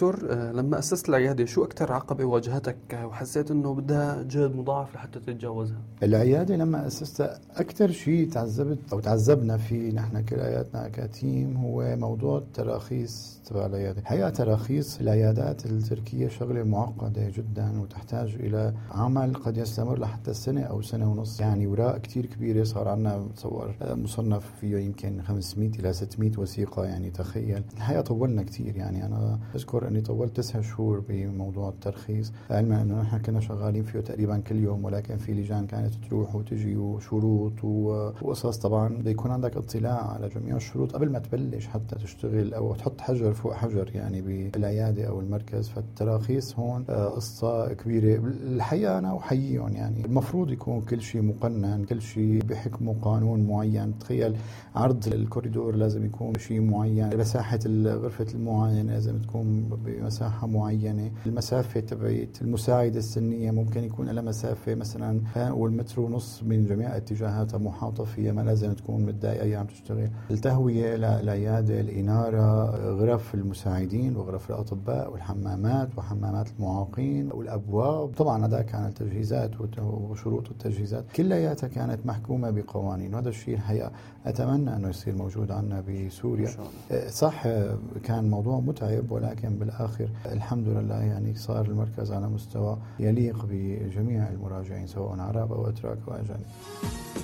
دكتور، لما أسست العيادة شو أكتر عقبة واجهتك وحسيت إنه بدها جهد مضاعف لحتى تتجاوزها؟ العيادة لما أسستها أكتر شيء تعذبت أو تعذبنا فيه نحن كلياتنا كتيم هو موضوع التراخيص تبع العيادة. حقيقة تراخيص العيادات التركية شغلة معقدة جدا وتحتاج إلى عمل قد يستمر لحتى سنة أو سنة ونص، يعني وراء كتير كبيرة. صار عنا بتصور مصنف فيه يمكن 500 إلى 600 وثيقة، يعني تخيل. الحقيقة طولنا كتير، يعني أنا أذكر أني طولت 9 شهور بموضوع الترخيص، علما أنه نحن كنا شغالين فيه تقريبا كل يوم، ولكن في لجان كانت تروح وتجي وشروط وقصص. طبعا بده يكون عندك اطلاع على جميع الشروط قبل ما تبلش حتى تشتغل أو تحط حجر فوق حجر يعني بالعيادة أو المركز. فالتراخيص هون قصة كبيرة. الحقيقة أنا أحييهم، يعني المفروض يكون كل شيء مقنن، كل شيء بحكمه قانون معين. تخيل عرض الكوريدور لازم يكون شيء معين، مساحة غرفة المعاينة لازم تكون بمساحة معينة، المسافة تبعت المساعدة السنية ممكن يكون لها مسافة مثلا والمتر ونص من جميع اتجاهاتها محاطة فيها، ما لازم تكون متضايقة أيام تشتغل. التهوية للعيادة، الإنارة، غرف المساعدين وغرف الأطباء والحمامات وحمامات المعاقين والأبواب. طبعا هذا كان التجهيزات وشروط التجهيزات كلياتها كانت محكومة بقوانين، وهذا الشيء الحقيقة أتمنى أنه يصير موجود عنا بسوريا. صح كان موضوع متعب، ولكن بالآخر الحمد لله يعني صار المركز على مستوى يليق بجميع المراجعين سواء عرب أو أتراك أو أجانب.